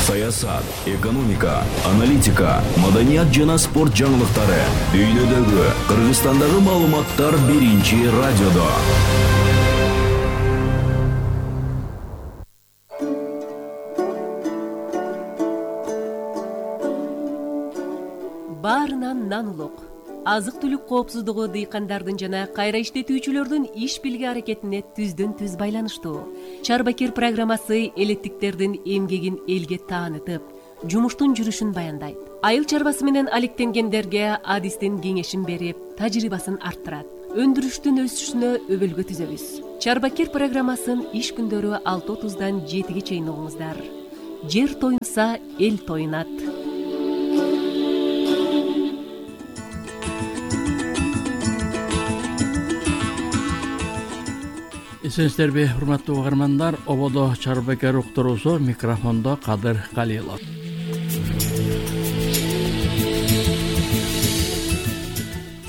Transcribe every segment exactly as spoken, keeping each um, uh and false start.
саясат, экономика, аналитика, маданият жана спорт жаңылыктары, дүйнөдөгү, Кыргызстандагы маалыматтар биринчи радиодо. Баарынан нан улук. Азык-түлүк коопсуздугу дыйкандардын жана кайра иштетүүчүлөрдүн иш билги аракетине түздөн түз байланыштуу. Чарбакер программасы элеттиктердин эмгегин элге таанытып, жумуштун жүрүшүн баяндайт. Айыл чарбасы менен алектенгендерге адистин кеңешин берип, тажрыйбасын арттырат. Өндүрүштүн өсүшүнө өбөлгө түзөбүз. Чарбакер программасын иш күндөрү алты отуздан жетиге чейин угуңуздар. Жер тоюнса, эл тоюнат. Эсенсиздерби, урматтуу угармандар, ободо Чарбакер уктуруусу, микрофондо Кадыр Калилов.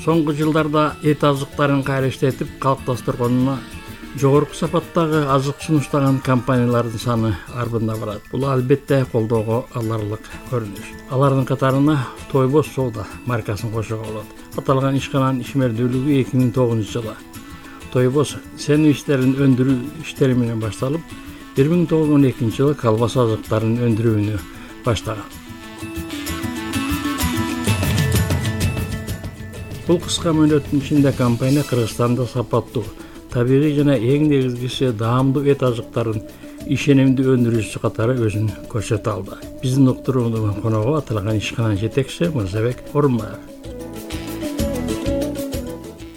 Соңку жылдарда эт азыктарын кайра иштетип калыпташтыргонуна жогорку сапаттагы азык сунуштаган компаниялардын саны арбында барат. Бул албетте колдоого аларлык көрүнүш. Алардын катарына Тойбос соода маркасын кошууга болот. Аталган ишкананын ишмердүүлүгү эки миң тогузунчу жылы Тойбос сен иштерин өндүрүү иштери менен башталып, бир миң тогуз жүз он экинчи жылы колбаса азыктарын өндүрүүнү баштаган. Бул кыска мөөнөттүн ичинде компания Кыргызстанда сапаттуу, табигый жана эң негизгиси даамдуу эт азыктарын ишенимдүү өндүрүүчүсү катары өзүн көрсөтө алды. Биздин уктуруунун коногу аталган ишкананын жетекчиси Мырзабек Орунбаев.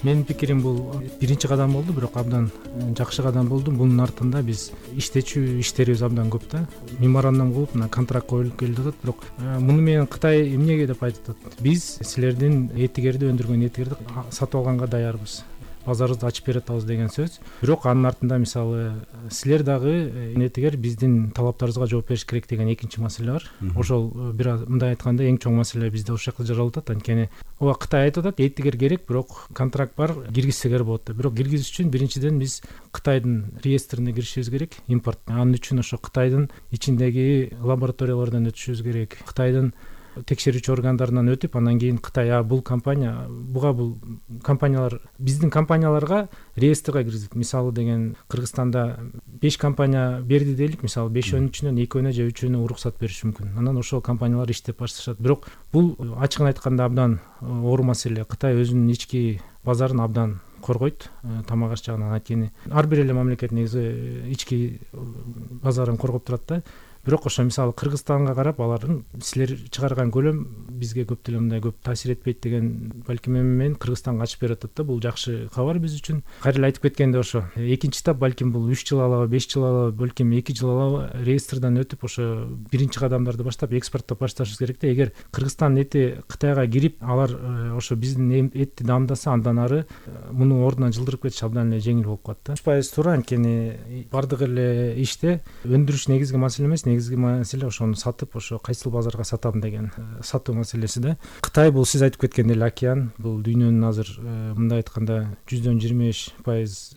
Менин пикирим бул биринчи кадам болду, бирок абдан жакшы кадам болду. Бунун артында биз иштечү иштерибиз абдан көп да. Меморандум кылып, мына контракт коюлуп келип атат, бирок муну менен Кытай эмнеге деп айтып атат? Биз силердин этигерди өндүргөн этигерди сатып алганга даярбыз. Базарыбызды ачып бере атабыз деген сөз. Бирок анын артында мисалы силер дагы этигер биздин талаптарыбызга жооп бериш керек деген экинчи маселе бар. Ошол бир мындай айтканда эң чоң маселе бизде ошол жакта жаралып атат. Анткени ооба Кытай айтып атат, этигер керек, бирок контракт бар, киргизсеңер болот деп. Бирок киргизиш үчүн биринчиден биз Кытайдын реестрине киришибиз керек, импорт. Анын үчүн ошо Кытайдын ичиндеги лабораториялардан өтүшүбүз керек. Кытайдын текшерүүчү органдарынан өтүп, анан кийин Кытай а бул компания, буга бул компаниялар биздин компанияларга реестрге киргизип, мисалы деген Кыргызстанда беш компания берди дейлик, мисалы бешөөнүн ичинен экөөнө же үчөөнө уруксат бериши мүмкүн. Анан ошол компаниялар иштеп башташат. Бирок бул ачыгын айтканда абдан оор маселе. Кытай өзүнүн ички базарын абдан коргойт, тамак аш жагынан. Анткени ар бир эле мамлекет негизи ички базарын коргоп турат да. Бирок ошо мисалы Кыргызстанга карап алардын силер чыгарган көлөм бизге көп деле мындай көп таасир этпейт деген балким эми менен Кыргызстанга ачып берип атат да. Бул жакшы кабар биз үчүн. Кайра эле айтып кеткендей ошо экинчи этап балким бул үч жыл алабы, беш жыл алабы, балким эки жыл алабы реестрден өтүп ошо биринчи кадамдарды баштап экспорттоп башташыбыз керек да. Эгер Кыргызстандын эти Кытайга кирип, алар ошо биздин этти даамдаса, андан ары муну ордунан жылдырып кетиш абдан эле жеңил болуп калат да. жүз пайыз туура, анткени бардык эле иште өндүрүш негизги маселе эмес, негизги маселе ошону сатып, ошо кайсыл базарга сатам деген сатуу маселеси да. Кытай бул сиз айтып кеткендей эле океан, бул дүйнөнүн азыр мындай айтканда жүздөн жыйырма беш пайыз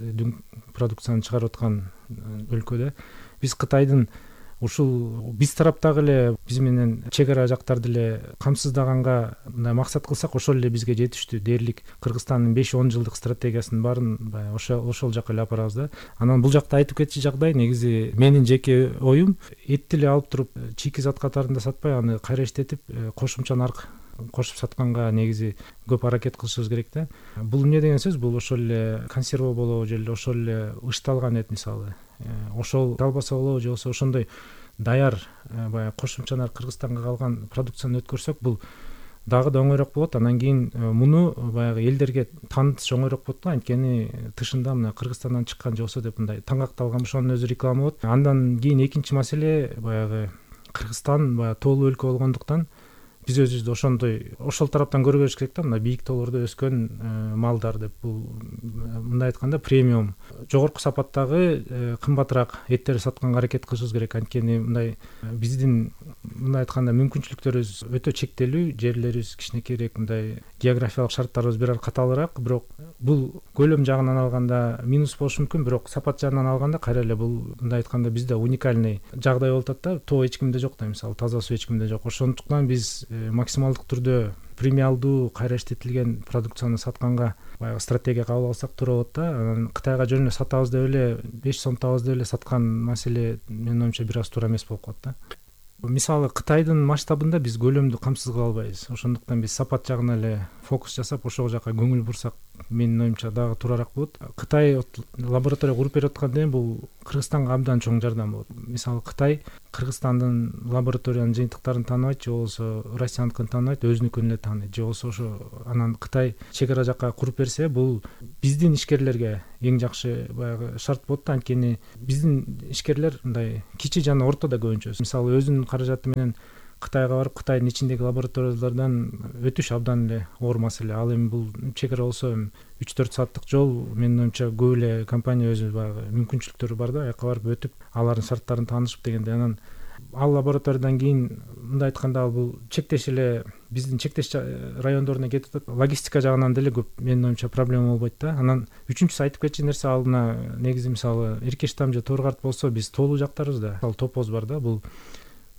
продукцияны чыгарып аткан өлкө да. Биз Кытайдын ушул биз тараптагы эле биз менен чек ара жактарды эле камсыздаганга мындай максат кылсак, ошол эле бизге жетиштүү. Дээрлик Кыргызстандын беш он жылдык стратегиясынын баарын баягы ошол ошол жака эле апарабыз да. Анан бул жакта айтып кетчү жагдай негизи менин жеке оюм, этти эле алып туруп чийки зат катарында сатпай, аны кайра иштетип кошумча нарк кошуп сатканга негизи көп аракет кылышыбыз керек да. Бул эмне деген сөз? Бул ошол эле консерва болобу же ошол эле ышталган эт, мисалы ошол колбаса болобу же болбосо ошондой даяр баягы кошумча нарк Кыргызстанга калган продукцияны өткөрсөк, бул дагы да оңойрок болот. Анан кийин муну баягы элдерге таанытыш оңойрок болот да. Анткени тышында мына Кыргызстандан чыккан же болсо деп мындай таңгакталган, ошонун өзү реклама болот. Андан кийин экинчи маселе баягы Кыргызстан баягы тоолуу өлкө болгондуктан биз өзүбүздү ошондой ошол тараптан көрө бериш керек да. Мына бийик тоолордо өскөн малдар деп, бул мындай айтканда премиум, жогорку сапаттагы кымбатыраак эттерди сатканга аракет кылышыбыз керек. Анткени мындай биздин мындай айтканда мүмкүнчүлүктөрүбүз өтө чектелүү, жерлерибиз кичинекейирээк, мындай географиялык шарттарыбыз бир аз катаалыраак, бирок бул көлөм жагынан алганда минус болушу мүмкүн, бирок сапат жагынан алганда кайра эле бул мындай айтканда бизде уникальный жагдай болуп атат да. Тоо эч кимде жок да, мисалы таза суу эч кимде жок. Ошондуктан биз максималдык түрдө премиалдуу кайра иштетилген продукцияны сатканга баягы стратегия кабыл алсак туура болот да. Анан Кытайга жөн эле сатабыз деп эле беш сомдотабыз деп эле саткан маселе менин оюмча бир аз туура эмес болуп калат да. Мисалы Кытайдын масштабында биз көлөмдү камсыз кыла албайбыз. Ошондуктан биз сапат жагына эле фокус жасап ошол жака көңүл бурсак менин оюмча дагы туурараак болот. Кытай лаборатория куруп берип атканда эми бул Кыргызстанга абдан чоң жардам болот. Мисалы Кытай Кыргызстандын лабораториянын жыйынтыктарын тааныбайт, же болбосо Россияныкын тааныбайт, өзүнүкүн эле тааныйт, же болбосо ошо анан Кытай чек ара жака куруп берсе, бул биздин ишкерлерге эң жакшы баягы шарт болот да. Анткени биздин ишкерлер мындай кичи жана ортодо көбүнчө, мисалы өзүнүн каражаты менен Кытайга барып Кытайдын ичиндеги лабораториялардан өтүш абдан эле оор маселе. Ал эми бул чек ара болсо үч төрт сааттык жол, менин оюмча көп эле компания өзү баягы мүмкүнчүлүктөрү бар да, аяка барып өтүп алардын шарттарын таанышып дегенде. Анан ал лабораториядан кийин мындай айтканда ал бул чектеш эле биздин чектеш райондоруна кетип атат. Логистика жагынан деле көп менин оюмча проблема болбойт да. Анан үчүнчүсү айтып кетчү нерсе, ал мына негизи мисалы Эркештам же Торгарт болсо биз тоолуу жактарбыз да. Ал топоз бар да, бул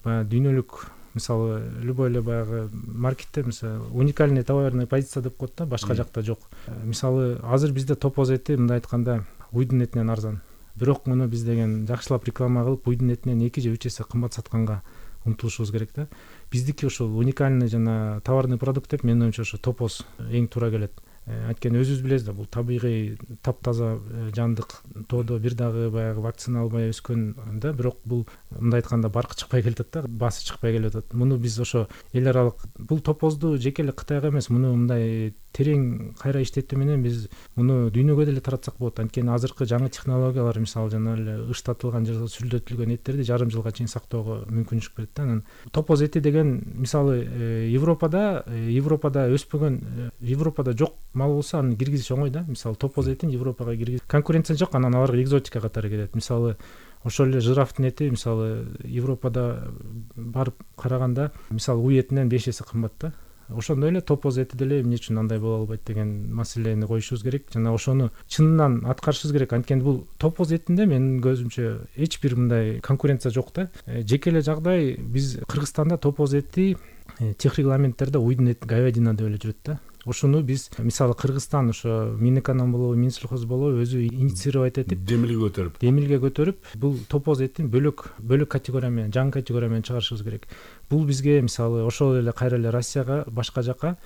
баягы дүйнөлүк мисалы любой эле баягы маркетте мисалы уникальный товарный позиция деп коет да, башка жакта жок. Мисалы азыр бизде топоз эти мындай айтканда уйдун этинен арзан. Бирок муну биз деген жакшылап реклама кылып уйдун этинен эки же үч эсе кымбат сатканга умтулушубуз керек да. Биздики ошол уникальный жана товарный продукт деп менин оюмча ошо топоз эң туура келет. Анткени өзүбүз билебиз да, бул табигый таптаза жандык тоодо бир дагы баягы вакцина албай өскөн да, бирок бул мындай айтканда баркы чыкпай келатат да, баасы чыкпай келип атат. Муну биз ошо эл аралык бул топозду жеке эле Кытайга эмес, муну мындай терең кайра иштетүү менен биз муну дүйнөгө деле таратсак болот. Анткени азыркы жаңы технологиялар мисалы жана эле ыштатылган же сүлдөтүлгөн эттерди жарым жылга чейин сактоого мүмкүнчүлүк берет да. Анан топоз эти деген мисалы Европада Европада өспөгөн, Европада жок мал болсо аны киргизиш оңой да. Мисалы топоз этин Европага киргиз конкуренция жок, анан аларга экзотика катары келет. Мисалы ошол эле жирафтын эти мисалы Европада барып караганда мисалы уй этинен беш эсе кымбат да. Ошондой эле топоз эти деле эмне үчүн андай боло албайт деген маселени коюшубуз керек жана ошону чынынан аткарышыбыз керек. Анткени бул топоз этинде менин көзүмчө эч бир мындай конкуренция жок да. Жеке эле жагдай биз Кыргызстанда топоз эти тех регламенттерде уйдун эти говядина деп эле жүрөт да. Ошону биз мисалы Кыргызстан ошо Минэконом болобу, Минсельхоз болобу өзү инициировать этип демилге көтөрүп демилге көтөрүп бул топоз этин бөлөк бөлөк категория менен, жаңы категория менен чыгарышыбыз керек. Бул бизге мисалы ошол эле кайра эле Россияга, башка жака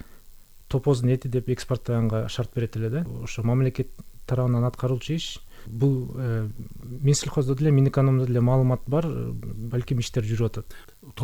топоздун эти деп экспорттаганга шарт берет эле да. Ошо мамлекет тарабынан аткарылчу иш. Бул Минсельхоздо деле, Минэкономдо деле маалымат бар, балким иштер жүрүп атат.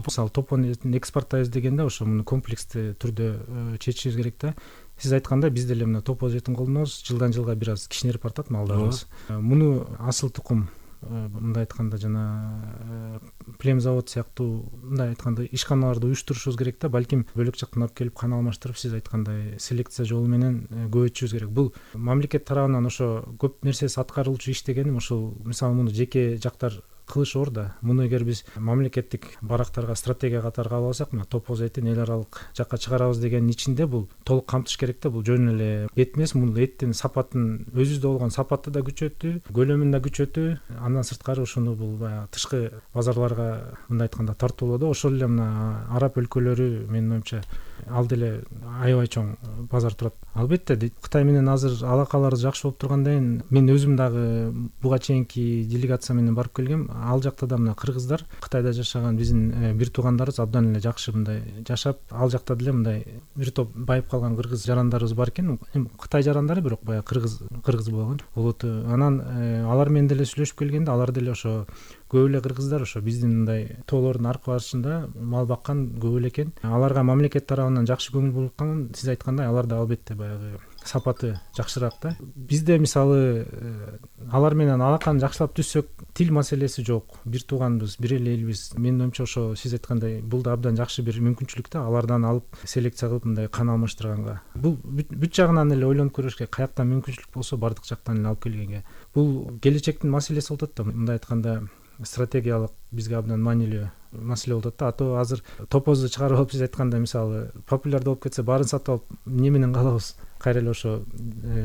Мисалы топоз этин экспорттайбыз дегенде ошо муну комплекстүү түрдө чечишибиз керек да. Сиз айткандай биз деле мына топоз этин колдонобуз, жылдан жылга бир аз кичинерип бартат малдарыбыз. Муну асыл тукум мындай айтканда жана плем завод сыяктуу мындай айтканда ишканаларды уюштурушубуз керек да. Балким бөлөк жактан алып келип кан алмаштырып сиз айткандай селекция жолу менен көбөйтүшүбүз керек. Бул мамлекет тарабынан ошо көп нерсеси аткарылчу иш дегеним ошол мисалы муну жеке жактар кылыш оор да. Муну эгер биз мамлекеттик барактарга стратегия катары кабыл алсак, мына топоз этин эл аралык жакка чыгарабыз дегенин ичинде бул толук камтыш керек да. Бул жөн эле эт эмес, бул эттин сапатын өзүбүздө болгон сапаты да күчөтүү, көлөмүн да күчөтүү, андан сырткары ошону бул баягы тышкы базарларга мындай айтканда тартуулоодо ошол эле мына араб өлкөлөрү менин оюмча ал деле аябай чоң базар турат. Албетте Кытай менен азыр алакаларыбыз жакшы болуп тургандан кийин мен өзүм дагы буга чейинки делегация менен барып келгем. Ал жакта да мына кыргыздар, Кытайда жашаган биздин бир туугандарыбыз абдан эле жакшы мындай жашап, ал жакта деле мындай бир топ байып калган кыргыз жарандарыбыз бар экен. Эми Кытай жарандары бирок баягы кыргыз кыргыз болгон улуту. Анан алар менен деле сүйлөшүп келгенде алар деле ошо көп эле кыргыздар ошо биздин мындай тоолордун аркы барышында мал баккан көп эле экен. Аларга мамлекет тарабынан жакшы көңүл бурулган, сиз айткандай алар да албетте баягы сапаты жакшыраак да. Бизде мисалы алар менен алаканы жакшылап түзсөк, тил маселеси жок. Бир тууганбыз, бир эле элбиз. Менин оюмча ошо сиз айткандай бул да абдан жакшы бир мүмкүнчүлүк да. Алардан алып селекция кылып мындай кан алмаштырганга. Бул бүт жагынан эле ойлонуп көрүш керек. Каяктан мүмкүнчүлүк болсо бардык жактан эле алып келгенге. Бул келечектин маселеси болуп атат да. Мындай айтканда стратегиялык бизге абдан маанилүү маселе болуп атат да. Ато азыр топозду чыгарып алып биз айтканда мисалы популярдуу болуп кетсе баарын сатып алып эмне менен калабыз? Кайра эле ошо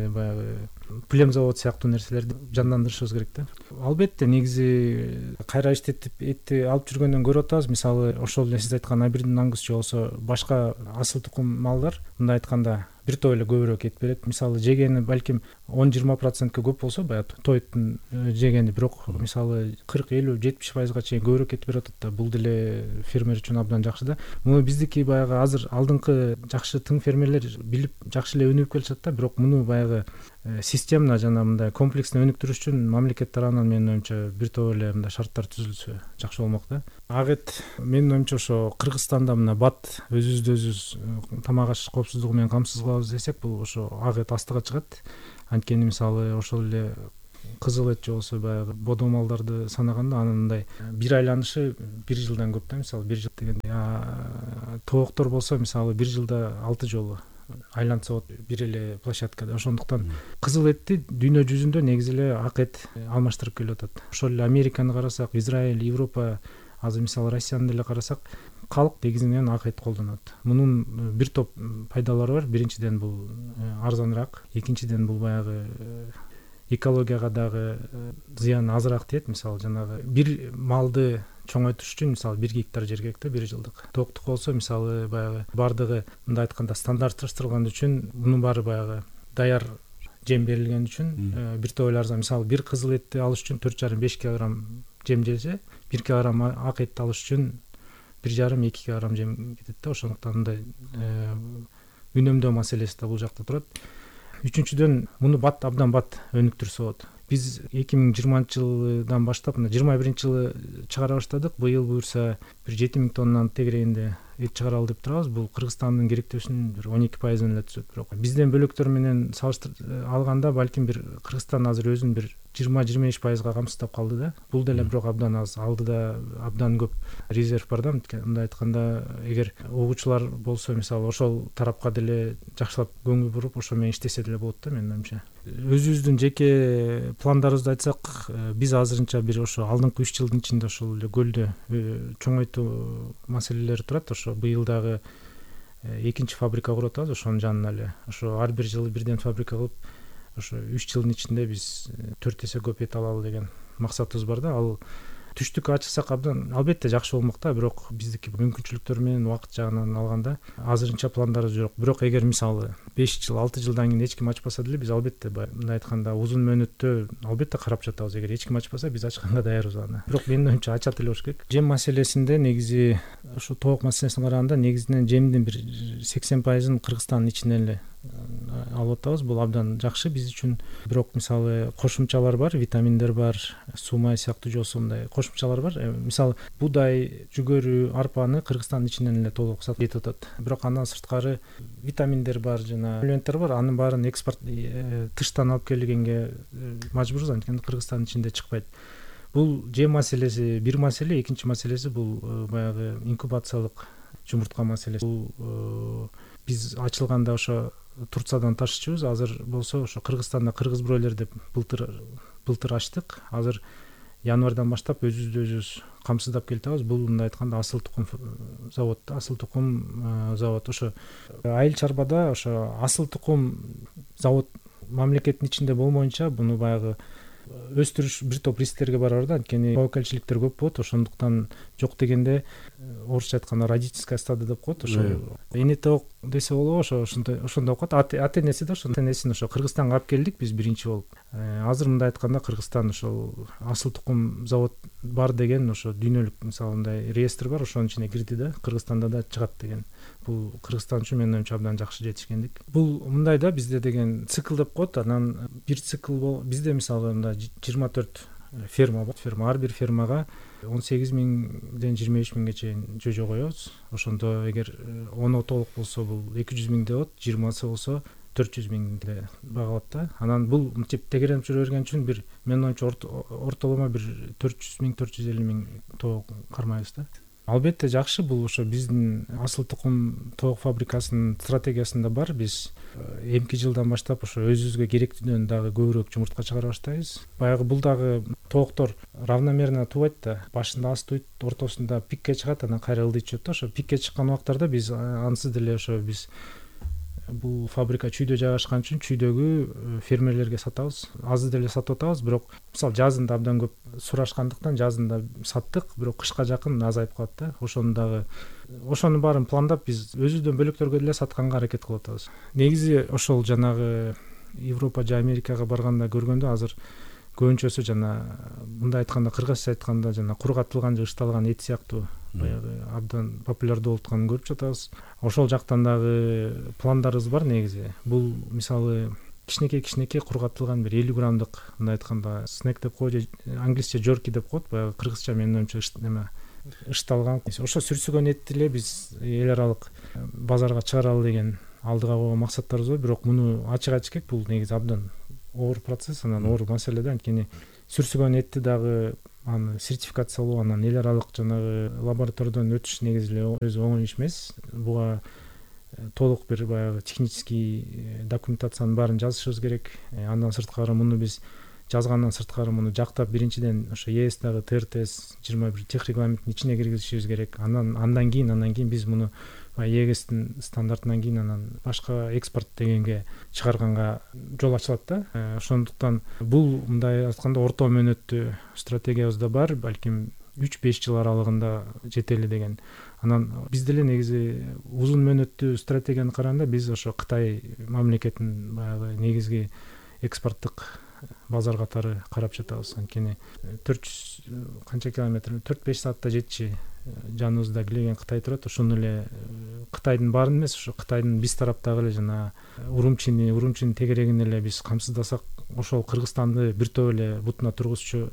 баягы плем завод сыяктуу нерселерди жандандырышыбыз керек да. Албетте негизи кайра иштетип этти алып жүргөндөн көрүп атабыз. Мисалы ошол эле сиз айткан Абердин ангус же болсо башка асыл тукум малдар мындай айтканда бир топ эле көбүрөөк эт берет. Мисалы жегени балким он жыйырма процентке көп болсо баягы тоеттун жегени, бирок мисалы кырк элүү жетимиш пайызга чейин көбүрөөк эт берип атат да. Бул деле фермер үчүн абдан жакшы да. Муну биздики баягы азыр алдыңкы жакшы тың фермерлер билип жакшы эле өнүгүп келишат да. Бирок муну баягы системно жана мындай комплексно өнүктүрүш үчүн мамлекет тарабынан менин оюмча бир топ эле мындай шарттар түзүлсө жакшы болмок да. Ак эт менин оюмча ошо Кыргызстанда мына бат өзүбүздү өзүбүз тамак аш коопсуздугу менен камсыз кылабыз десек, бул ошо ак эт астыга чыгат. Анткени мисалы ошол эле кызыл эт же болсо баягы бодо малдарды санаганда анын мындай бир айланышы бир жылдан көп да. Мисалы бир жыл дегенде тооктор болсо мисалы бир жылда алты жолу айланса болот бир эле площадкада. Ошондуктан кызыл этти дүйнө жүзүндө негизи эле ак эт алмаштырып келип атат. Ошол эле Американы карасак, Израиль, Европа, азыр мисалы Россияны деле карасак, калк негизинен ак эт колдонот. Мунун бир топ пайдалары бар. Биринчиден бул арзаныраак, экинчиден бул баягы экологияга дагы зыян азыраак тиет. Мисалы жанагы бир малды чоңойтуш үчүн мисалы бир гектар жер керек да, бир жылдык. Токтук болсо мисалы баягы бардыгы мындай айтканда стандартташтырылган үчүн мунун баары баягы даяр жем берилген үчүн бир топ эле арзан. Мисалы бир кызыл этти алыш үчүн төрт жарым беш килограмм жем желсе, бир килограмм ак этти алыш үчүн бир жарым эки килограмм жем кетет да. Ошондуктан мындай үнөмдөө маселеси да бул жакта турат. Үчүнчүдөн муну бат абдан бат өнүктүрсө болот. Биз эки миң жыйырманчы жылдан баштап мына жыйырма биринчи жылы чыгара баштадык. Быйыл буюрса бир жети миң тоннанын тегерегинде эт чыгаралы деп турабыз. Бул Кыргызстандын керектөөсүнүн бир он эки пайызын эле түзөт. Бирок бизден бөлөктөр менен салыштырып алганда балким бир Кыргызстан азыр өзүн бир жыйырма жыйырма беш пайызга камсыздап калды да. Бул деле бирок абдан аз. Алдыда абдан көп резерв бар да. Мындай айтканда, эгер угуучулар болсо мисалы ошол тарапка деле жакшылап көңүл буруп ошо менен иштесе деле болот да менин оюмча. Өзүбүздүн жеке пландарыбызды айтсак, биз азырынча бир ошо алдыңкы үч жылдын ичинде ошол эле көлдү чоңойтуу маселелери турат. Ошо быйыл дагы экинчи фабрика куруп атабыз ошонун жанына эле. Ошо ар бир жылы бирден фабрика кылып, ошо үч жылдын ичинде биз төрт эсе көп эт алалы деген максатыбыз бар да. Ал түштүккө ачсак абдан албетте жакшы болмок да. Бирок биздики мүмкүнчүлүктөр менен убакыт жагынан алганда азырынча пландарыбыз жок. Бирок эгер мисалы беш жыл алты жылдан кийин эч ким ачпаса деле биз албетте мындай айтканда узун мөөнөттө албетте карап жатабыз. Эгер эч ким ачпаса биз ачканга даярбыз аны. Бирок менин оюмча ачат эле болуш керек. Жем маселесинде негизи ошо тоок маселесине караганда негизинен жемдин бир сексен пайызын Кыргызстандын ичинен эле алып атабыз. Бул абдан жакшы биз үчүн. Бирок мисалы кошумчалар бар, витаминдер бар, сумай сыяктуу жосо мындай кошумчалар бар. Мисалы буудай, жүгөрү, арпаны Кыргызстандын ичинен эле толук сатып кетип атат. Бирок андан сырткары витаминдер бар, жана элементтер бар. Анын баарын экспорт тыштан алып келгенге мажбурбуз, анткени Кыргызстандын ичинде чыкпайт. Бул жем маселеси бир маселе, экинчи маселеси бул баягы инкубациялык жумуртка маселеси. Бул биз ачылганда ошо Турциядан ташычыбыз. Азыр болсо ошо Кыргызстанда кыргыз бройлер деп былтыр былтыр ачтык. Азыр январдан баштап өзүбүздү өзүбүз камсыздап келатабыз. Бул мындай айтканда асыл тукум завод, асыл тукум завод. Ошо айыл чарбада ошо асыл тукум завод мамлекеттин ичинде болмоюнча буну баягы өстүрүш бир топ рисктерге барар да. Анткени тобокелчиликтер көп болот. Ошондуктан жок дегенде орусча айтканда родительская стадо деп коет. Ошо эне тоок десе болобу, ошо ошондой ошондой коет. Ата энеси да ошо энесин ошо Кыргызстанга алып келдик биз биринчи болуп. Азыр мындай айтканда Кыргызстан ошол асыл тукум завод бар деген ошо дүйнөлүк мисалы мындай реестр бар, ошонун ичине кирди да. Кыргызстанда да чыгат деген. Бул Кыргызстан үчүн менин оюмча абдан жакшы жетишкендик. Бул мындай да, бизде деген цикл деп коет. Анан бир цикл бол бизде мисалы мындай жыйырма төрт ферма бар. Ферма ар бир фермага он сегиз миңден жыйырма беш миңге чейин жожо коебуз. Ошондо эгер ону толук болсо бул эки жүз миңде болот, жыйырмасы болсо төрт жүз миңде багалат да. Анан бул мынтип тегеренип жүрө берген үчүн бир менин оюмча ортоломо бир төрт жүз миң төрт жүз элүү миң тоок кармайбыз да. Албетте жакшы, бул ошо биздин асыл тукум тоок фабрикасынын стратегиясында бар. Биз эмки жылдан баштап ошо өзүбүзгө керектүүдөн дагы көбүрөөк жумуртка чыгара баштайбыз. Баягы бул дагы тооктор равномерно тубайт да, башында аз тууйт, ортосунда пикке чыгат, анан кайра ылдый түшөт да. Ошо пикке чыккан убактарда биз ансыз деле ошо биз бул фабрика чүйдө жайгашкан үчүн чүйдөгү фермерлерге сатабыз. Аз деле сатып атабыз, бирок мисалы жазында абдан көп сурашкандыктан жазында саттык, бирок кышка жакын азайып калат да. Ошону дагы ошонун баарын пландап биз өзүбүздөн бөлөктөргө деле сатканга аракет кылып атабыз. Негизи ошол жанагы Европа же Америкага барганда көргөндө азыр көбүнчөсү жана мындай айтканда, кыргызча айтканда жана кургатылган же ышталган эт сыяктуу баягы абдан популярдуу болуп атканын көрүп жатабыз. Ошол жактан дагы пландарыбыз бар негизи. Бул мисалы кичинекей-кичинекей кургатылган бир элүү граммдык, мындай айтканда снек деп коет, англисче жерки деп коет, баягы кыргызча менин оюмча неме ышталган. Ошо сүрсүгөн этти эле биз эл аралык базарга чыгаралы деген алдыга койгон максаттарыбыз бар. Бирок муну ачык-ачык бул негизи абдан оор процесс, анан оор маселе да. Анткени сүрсүгөн этти дагы аны сертификациялоо, анан эл аралык жанагы лабораториядан өтүш негизи эле өзү оңой иш эмес. Буга толук бир баягы технический документациянын баарын жазышыбыз керек. Андан сырткары муну биз жазгандан сырткары муну жактап биринчиден ошо ЕСдагы Т Р Т С жыйырма бир тех регламенттин ичине киргизишибиз керек. Андан андан кийин андан кийин биз муну ЕГСтин стандартынан кийин анан башка экспорт дегенге чыгарганга жол ачылат да. Ошондуктан бул мындай айтканда орто мөөнөттүү стратегиябызда бар, балким үч беш жыл аралыгында жетели деген. Анан биз деле негизи узун мөөнөттүү стратегияны караганда биз ошо Кытай мамлекетин баягы негизги экспорттук базар катары карап жатабыз. Анткени төрт жүз канча километр, төрт беш саатта жетчи жаныбызда килеген Кытай турат. Ошону эле Кытайдын баарын эмес, ошо Кытайдын биз тараптагы эле жана Урумчини, Урумчинин тегерегин эле биз камсыздасак, ошол Кыргызстанды бир топ эле бутуна тургузчу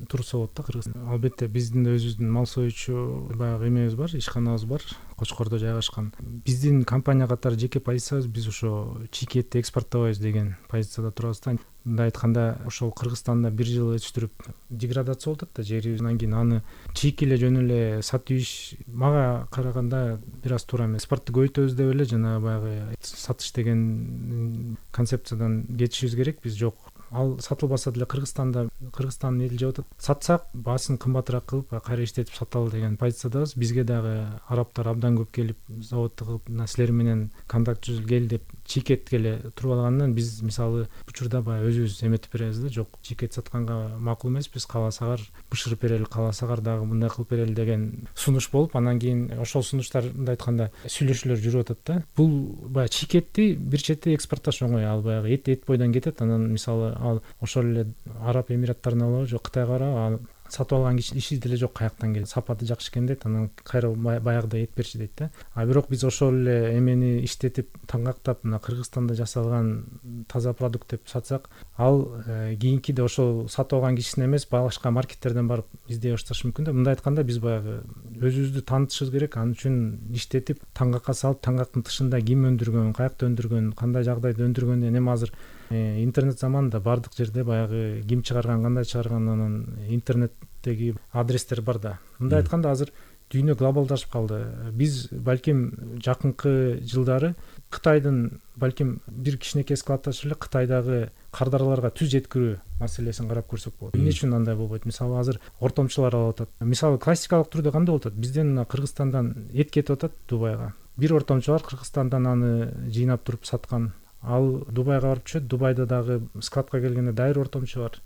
турса болот да Кыргызстан. Албетте биздин өзүбүздүн мал союучу баягы эмебиз бар, ишканабыз бар, Кочкордо жайгашкан. Биздин компания катары жеке позициябыз, биз ошо чийки этти экспорттобойбуз деген позицияда турабыз да. Мындай айтканда, ошол Кыргызстанда бир жыл өтүштүрүп деградация болуп атат да жери. Андан кийин аны чийки эле жөн эле сатып иш мага караганда бир аз туура эмес. Экспортты көбөйтөбүз деп эле жана баягы сатыш деген концепциядан кетишибиз керек. Биз жок, ал сатылбаса деле Кыргызстанда Кыргызстандын эли жеп атат. Сатсак баасын кымбатыраак кылып кайра иштетип саталы деген позициядабыз. Бизге дагы арабтар абдан көп келип заводду кылып, силер менен контакт түзүп кел деп чийкетке эле туруп алгандан биз мисалы учурда баягы өзүбүз эметип беребиз да. Жок, чийкет сатканга макул эмеспиз, кааласагар бышырып берели, кааласагар дагы мындай кылып берели деген сунуш болуп, анан кийин ошол сунуштар мындай айтканда сүйлөшүүлөр жүрүп атат да. Бул баягы чийкетти бир четте экспортташ оңой, ал баягы эт эт бойдон кетет. Анан мисалы ал ошол эле Араб Эмираттарына алабы же Кытайга барабы, сатып алган киши иши деле жок, каяктан келет, сапаты жакшы экен дейт, анан кайра баягыдай эт берчи дейт да. А бирок биз ошол эле эмени иштетип таңгактап мына Кыргызстанда жасалган таза продукт деп сатсак, ал кийинкиде ошол сатып алган кишисине эмес, башка маркеттерден барып издей башташы мүмкүн да. Мындай айтканда биз баягы өзүбүздү таанытышыбыз керек. Ал үчүн иштетип таңгакка салып, таңгактын тышында ким өндүргөн, каякта өндүргөн, кандай жагдайда өндүргөндөн эми азыр интернет заманында бардык жерде баягы ким чыгарган, кандай чыгарган, анан интернеттеги адрестер бар да. Мындай айтканда азыр дүйнө глобалдашып калды. Биз балким жакынкы жылдары Кытайдын балким бир кичинекей складташып эле Кытайдагы кардараларга түз жеткирүү маселесин карап көрсөк болот. Эмне үчүн андай болбойт? Мисалы азыр ортомчулар алып атат. Мисалы классикалык түрдө кандай болуп атат? Бизден Кыргызстандан эт кетип атат Дубайга. Бир ортомчу бар, Кыргызстандан аны жыйнап туруп саткан. Ал Дубайга барып түшөт. Дубайда дагы складка келгенде дайыр ортомчу бар.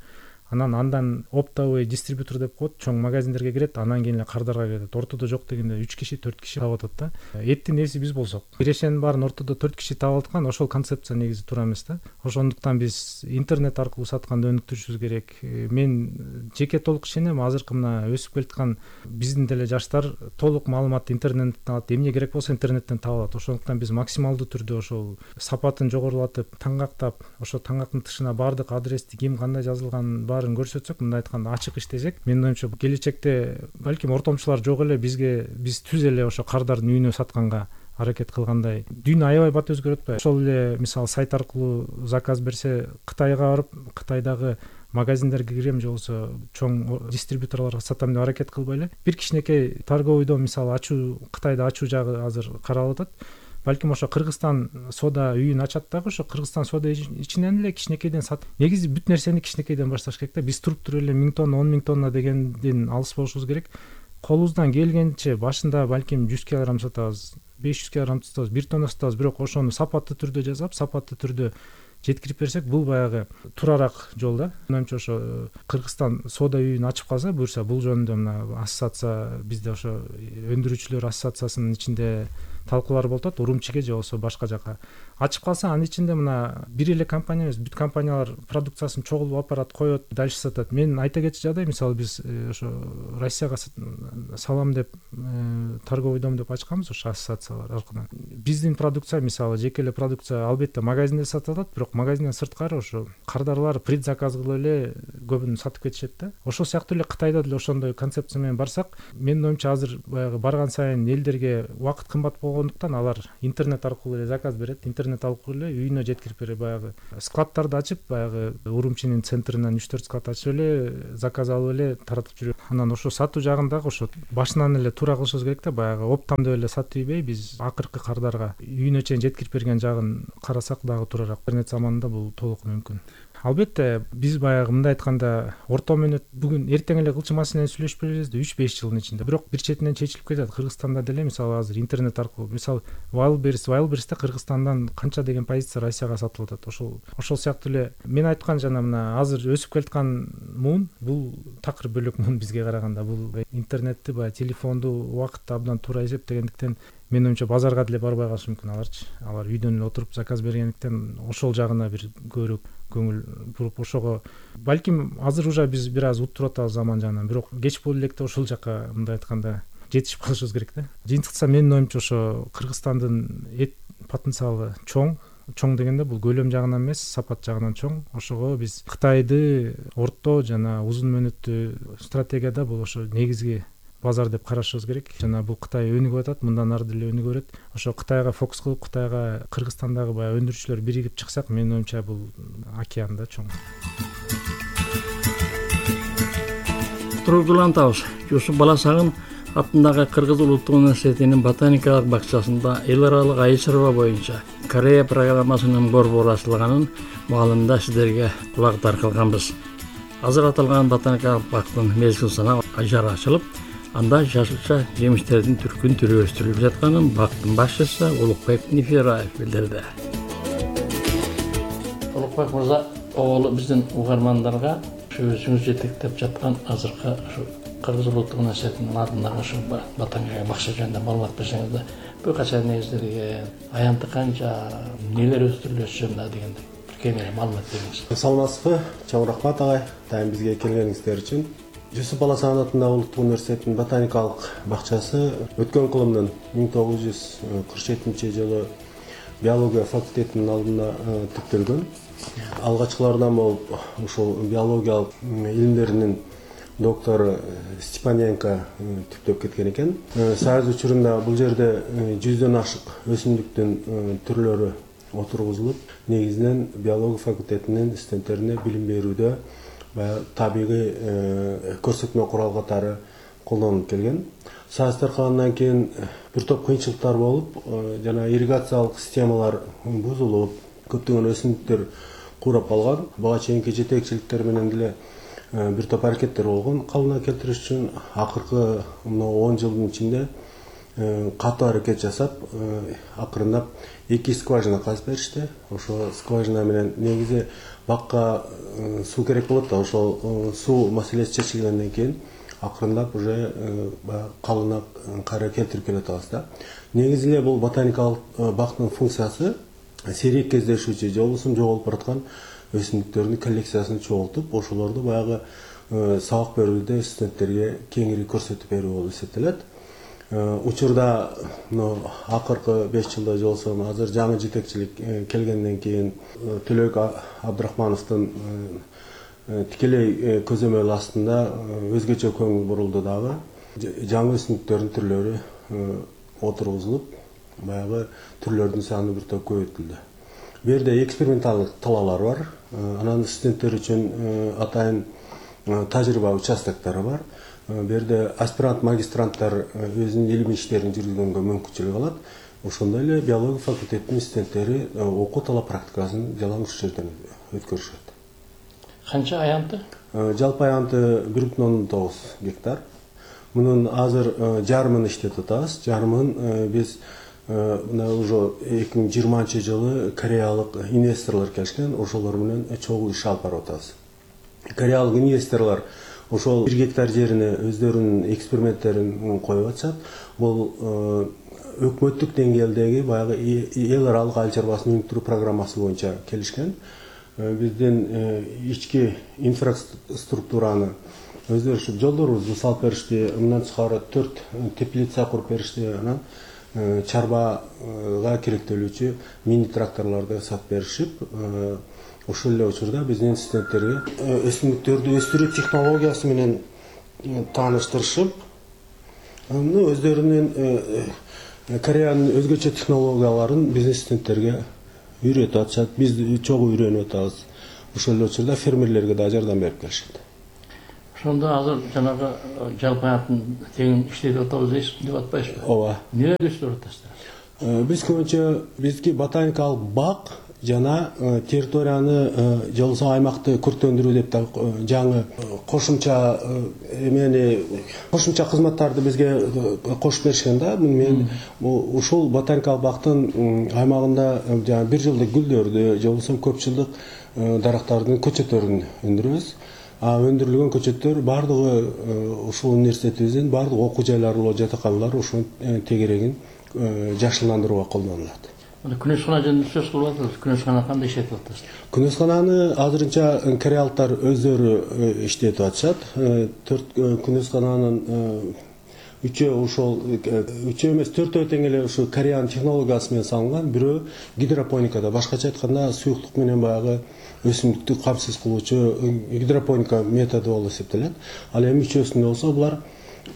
Анан андан оптовый дистрибьютор деп коет, чоң магазиндерге кирет, анан кийин эле кардарга кетет. Ортодо жок дегенде үч киши, төрт киши таап атат да. Эттин ээси биз болсок, бирешенин баарын ортодо төрт киши таап аткан, ошол концепция негизи туура эмес да. Ошондуктан биз интернет аркылуу сатканды өнүктүрүшүбүз керек. Мен жеке толук ишенем, азыркы мына өсүп келаткан биздин деле жаштар толук маалыматты интернеттен алат, эмне керек болсо интернеттен таап алат. Ошондуктан биз максималдуу түрдө ошол сапатын жогорулатып, таңгактап, ошо таңгактын тышына бардык адрести ким кандай жазылган көрсөтсөк, мындай айтканда ачык иштесек, менин оюмча келечекте балким ортомчулар жок эле бизге биз түз эле ошо кардардын үйүнө сатканга аракет кылгандай. Дүйнө аябай бат өзгөрүп атпайбы? Ошол эле мисалы сайт аркылуу заказ берсе, Кытайга барып, Кытайдагы магазиндерге кирем же болбосо чоң дистрибьюторлорго сатам деп аракет кылбай эле бир кичинекей торговый дом мисалы ачуу, Кытайда ачуу жагы азыр каралып атат. Балким ошо Кыргызстан соода үйүн ачат дагы ошо Кыргызстан соода ичинен эле кичинекейден сатып. Негизи бүт нерсени кичинекейден башташ керек да. Биз туруп туруп эле миң тонна, он миң тонна дегенден алыс болушубуз керек. Колубуздан келгенче башында балким жүз килограмм сатабыз, беш жүз килограмм сатабыз, бир тонна сатабыз, бирок ошону сапаттуу түрдө жасап, сапаттуу түрдө жеткирип берсек, бул баягы турарак жол да. Менимче ошо Кыргызстан соода үйүн ачып калса, буюрса бул жөнүндө мына ассоциация, бизде ошо өндүрүүчүлөр ассоциациясынын ичинде талкуулар болуп атат, Урумчиге же болбосо башка жака ачып калса, анын ичинде мына бир эле компания эмес, бүт компаниялар продукциясын чогулуп апарат, коет, дальше сатат. Мен айта кетчү жагдай, мисалы биз ошо Россияга салам деп торговый дом деп ачканбыз, ошо ассоциациялар аркылуу. Биздин продукция мисалы жеке эле продукция албетте магазинде сатылат, бирок магазинден сырткары ошо кардарлар предзаказ кылып эле көбүн сатып кетишет да. Ошол сыяктуу эле Кытайда деле ошондой концепция менен барсак, менин оюмча азыр баягы барган сайын элдерге убакыт кымбат болгондуктан алар интернет аркылуу эле заказ берет, интернет аркылуу эле үйүнө жеткирип берет. Баягы складдарды ачып, баягы Урумчинин центринен үч төрт склад ачып эле заказ алып эле таратып жүрөт. Анан ошо сатуу жагындагы ошо башынан эле туура кылышыбыз керек да. Баягы оптом деп эле сатып ийбей, биз акыркы кардарга үйүнө чейин жеткирип берген жагын карасак дагы туурааак. Интернет заманында бул толук мүмкүн. Албетте биз баягы мындай айтканда орто менет бүгүн эртең эле кылчу маселени сүйлөшүп беребиз да, үч беш жылдын ичинде. Бирок бир четинен чечилип кетет. Кыргызстанда деле мисалы азыр интернет аркылуу, мисалы Wildberries, Wildberries'те Кыргызстандан канча деген позиция Россияга сатылып атат. Ошол ошол сыяктуу эле мен айткан жана мына азыр өсүп келаткан муун, бул такыр бөлөк муун бизге караганда. Бул интернетти баягы телефонду убакытты абдан туура эсептегендиктен менин оюмча базарга деле барбай калышы мүмкүн аларчы. Алар үйдөн эле отуруп заказ бергендиктен ошол жагына бир көбүрөөк көңүл буруп, ошого балким азыр уже биз бир аз уттуруп атабыз заман жагынан, бирок кеч болду электе ошол жака мындай айтканда жетишип калышыбыз керек да. Жыйынтыкса менин оюмча ошо Кыргызстандын эт потенциалы чоң. Чоң дегенде бул көлөм жагынан эмес, сапат жагынан чоң. Ошого биз Кытайды орто жана узун мөөнөттүү стратегияда бул ошо негизги базар деп карашыбыз керек. Жана бул Кытай өнүгүп атат, мындан ары деле өнүгө берет. Ошо Кытайга фокус кылып, Кытайга Кыргызстандагы баягы өндүрүүчүлөр биригип чыксак, менин оюмча бул океанда чоң. Тургулантабыз. Жусуп Баласагын атындагы Кыргыз улуттук университетинин ботаникалык бакчасында эл аралык айыл чарба боюнча Корея программасынын борбору ачылганын маалында сиздерге кулактар кылганбыз. Азыр аталган ботаникалык бактын мезгил санап ажары ачылып, анда жашылча жемиштердин түркүн түрү өстүрүлүп жатканын бактын башчысы Улукбек Нефираев билдирди. Улукбек мырза, оолу биздин угармандарга өзүңүз жетектеп жаткан азыркы ушу Кыргыз улуттук университетинин атындагы ушу ботаникалык бакча жөнүндө маалымат берсеңиз да, бул качан негизделген, аянты канча, нелер өстүрүлөсү жөнүндө дегендей бир кеңири маалымат бериңиз. Саламатсызбы, чоң рахмат агай, дайым бизге келгениңиздер үчүн. Жусуп Баласагын атындагы улуттук университетинин ботаникалык бакчасы өткөн кылымдын миң тогуз жүз кырк жетинчи жылы биология факультетинин алдында тиктелген. Алгачкылардан болуп ушул биологиялык илимдеринин доктору Степаненко түптөп кеткен экен. Союз учурунда бул жерде жүздөн ашык өсүмдүктүн түрлөрү отургузулуп, негизинен биология факультетинин студенттерине билим берүүдө баягы табигый көрсөтмө курал катары колдонулуп келген. Союз таркагандан кийин бир топ кыйынчылыктар болуп, жана ирригациялык системалар бузулуп, көптөгөн өсүмдүктөр курап калган. Буга чейинки жетекчиликтер менен деле бир топ аракеттер болгон калыбына келтириш үчүн. Акыркы он жылдын ичинде катуу аракет жасап, акырындап эки скважина казып беришти. Ошо скважина менен негизи бакка суу керек болот да, ошол суу маселеси чечилгенден кийин акырындап уже калыбына кайра келтирип келе атабыз да. Негизи эле бул ботаникалык бактын функциясы сейрек кездешүүчү же болбосо жоголуп бараткан өсүмдүктөрдүн коллекциясын чогултуп, ошолорду баягы сабак берүүдө студенттерге кеңири көрсөтүп берүү болуп эсептелет. Учурда акыркы беш жылда же болбосо азыр жаңы жетекчилик келгенден кийин Төлөк Абдрахмановдун тикелей көзөмөл астында өзгөчө көңүл бурулду дагы. Жаңы өсүмдүктөрдүн түрлөрү отургузулуп, баягы түрлөрдүн саны бир топ көбөйтүлдү. Бу жерде эксперименталдык талаалар бар. Анан студенттер үчүн атайын тажрыйба участоктары бар. Бу жерде аспирант, магистранттар өзүнүн илимий иштерин жүргүзгөнгө мүмкүнчүлүк алат. Ошондой эле биология факультетинин студенттери окуу талап практикасын жалаң ушул жерден өткөрүшөт. Канча аянты? Жалпы аянты бир бүтүн ондон тогуз гектар. Мунун азыр жарымын иштетип атабыз. Жарымын биз мына уже эки миң жыйырманчы жылы кореялык инвесторлор келишкен, ошолор менен чогуу иш алып барып атабыз. Кореялык инвесторлор ошол бир гектар жерине өздөрүнүн эксперименттерин коюп атышат. Бул өкмөттүк деңгээлдеги баягы эл аралык айыл чарбасын өнүктүрүү программасы боюнча келишкен. Биздин ички инфраструктураны өздөрү ушу жолдорубузду салып беришти, мындан тышкары төрт теплица куруп беришти, анан чарбага керектелүүчү мини тракторлорду сатып беришип, ошол эле учурда биздин студенттерге өсүмдүктөрдү өстүрүү технологиясы менен тааныштырышып, өздөрүнүн Кореянын өзгөчө технологияларын биздин студенттерге үйрөтүп атышат. Биз чогуу үйрөнүп атабыз. Ошол эле учурда фермерлерге да жардам берип келишет. Ошондо азыр жанагы жалпы аянтын тегин иштетип атабыз дейсиз деп атпайсызбы? Ооба. Эмне өстүрүп атасыздар? Биз көбүнчө бизги ботаникалык бак жана территорияны же болбосо аймакты көрктөндүрүү деп да жаңы кошумча эмени кошумча кызматтарды бизге кошуп беришкен да. Мен ушул ботаникалык бактын аймагында жаңы бир жылдык гүлдөрдү же болбосо көп жылдык дарактардын көчөттөрүн өндүрөбүз. А өндүрүлгөн көчөттөр баардыгы ушул университетибиздин баардык окуу жайлары, жатаканалар ушунун тегерегин жакшыландырууга колдонулат. Күнөскана жөнүндө сөз кылып атасыз. Күнөскана кандай иштетип атасыз? Күнөскананы азырынча кореялыктар өздөрү иштетип атышат. Төрт күнөскананын үчөө ошол үчөө эмес төртөө тең эле ушу Кореянын технологиясы менен салынган, бирөө гидропоникада, башкача айтканда суюктук менен баягы өсүмдүктү камсыз кылуучу гидропоника методу болуп эсептелет. Ал эми үчөөсүндө болсо булар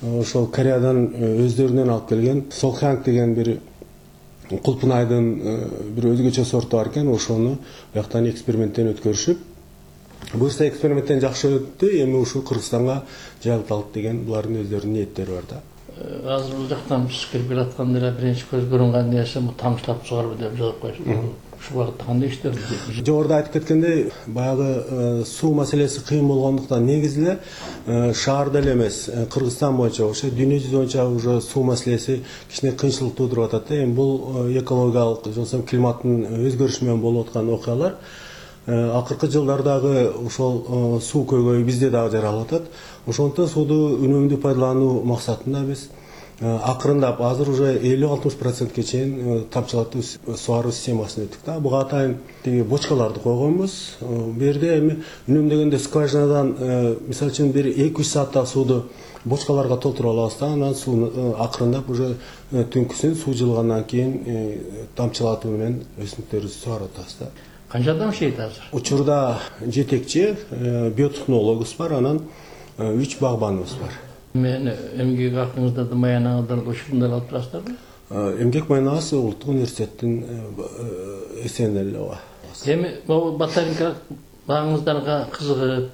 ошол Кореядан өздөрүнөн алып келген Солханг деген бир кулпунайдын бир өзгөчө сорту бар экен, ошону бияктан эксперименттен өткөрүшүп, буюрса эксперименттен жакшы өттү, эми ушул Кыргызстанга жайылталык деген булардын өздөрүнүн ниеттери бар да. Азыр бул жактан биз кирип келатканда эле биринчи көз көрүнгөн нерсе бул тамчылап сугаруу деп жазып коюшуп. Ушул багытта кандай иштер? Жогоруда айтып кеткендей, баягы суу маселеси кыйын болгондуктан негизи эле шаарда эле эмес, Кыргызстан боюнча, ошо дүйнө жүзү боюнча уже суу маселеси кичине кыйынчылык туудуруп атат. Эми бул экологиялык, же болбосо климаттын өзгөрүшү менен болуп аткан окуялар. Акыркы жылдардагы ошол суу көйгөйү бизде дагы жаралып атат. Ошондуктан сууду үнөмдүү пайдалануу максатында биз акырындап азыр уже элүү алтымыш процентке чейин тамчылатуу суаруу системасына өттүк да. Буга атайын тиги бочкаларды койгонбуз. Бу жерде эми үнөмдөгөндө скважинадан мисалы үчүн бир эки үч сааттагы сууду бочкаларга толтуруп алабыз да, анан сууну акырындап уже түнкүсүн суу жылгандан кийин тамчылатуу менен өсүмдүктөрүбүздү сугарып атабыз да. Канча адам иштейт азыр? Учурда жетекчи биотехнологубуз бар, анан үч багбаныбыз бар. Мен эмгек акыңызда да маянаңыздар ушундай алып турасыздарбы? Эмгек маянабыз улуттук университеттин эсебинен эле ооба. Эми могу ботаника багыңыздарга кызыгып,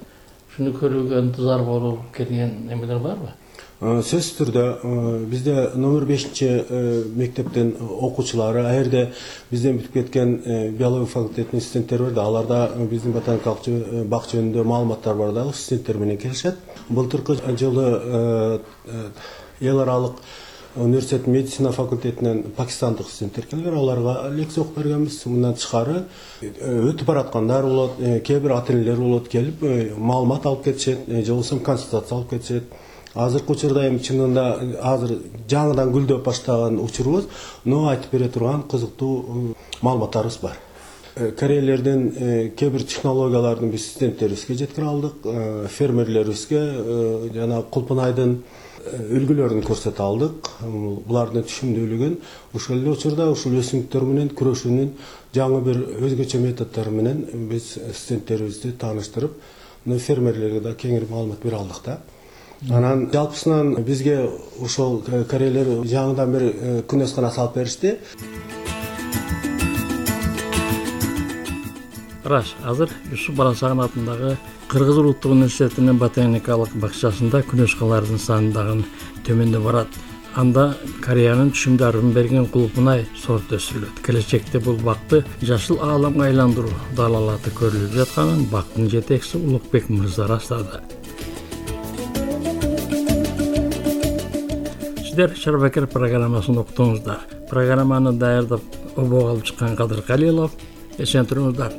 шуну көрүүгө ынтызар болуп келген эмелер барбы? Сөзсүз түрдө бизде номер бешинчи мектептин окуучулары, а жерде бизден бүтүп кеткен биология факультетинин студенттери бар да, аларда биздин ботаникалык бак жөнүндө маалыматтар бар да, студенттер менен келишет. Былтыркы жылы эл аралык университеттин медицина факультетинен пакистандык студенттер келген, аларга лекция окуп бергенбиз. Мындан тышкары өтүп бараткандар болот, кээ бир ата-энелер болот, келип маалымат алып кетишет, же болбосо консультация алып кетишет. Азыркы учурда эми чынында азыр жаңыдан гүлдөп баштаган учурубуз, но айтып бере турган кызыктуу маалыматтарыбыз бар. Корейлердин кээ бир технологиялардын биз студенттерибизге жеткире алдык, фермерлерибизге жана кулпунайдын үлгүлөрүн көрсөтө алдык. Булардын түшүмдүүлүгүн ошол эле учурда ушул өсүмдүктөр менен күрөшүүнүн жаңы бир өзгөчө методдору менен биз студенттерибизди тааныштырып, фермерлерге да кеңири маалымат бере алдык да. Анан жалпысынан бизге ошол корейлер жаңыдан бир күнөскана салып беришти. Раш, азыр Юсуп Баласаган атындагы Кыргыз улуттук университетинин ботаникалык бакчасында күнөшкалардын саны дагы төмөндөп барат. Анда Кореянын түшүмдарын берген кулпунай сорт өсүрүлөт. Келечекте бул бакты жашыл ааламга айландыруу далалаты көрүлүп жатканын бактын жетекчиси Улукбек мырза растады. Сиздер Шарбакер программасын уктуңуздар. Программаны даярдап обого алып чыккан Кадыр Калилов. Эсен туруңуздар.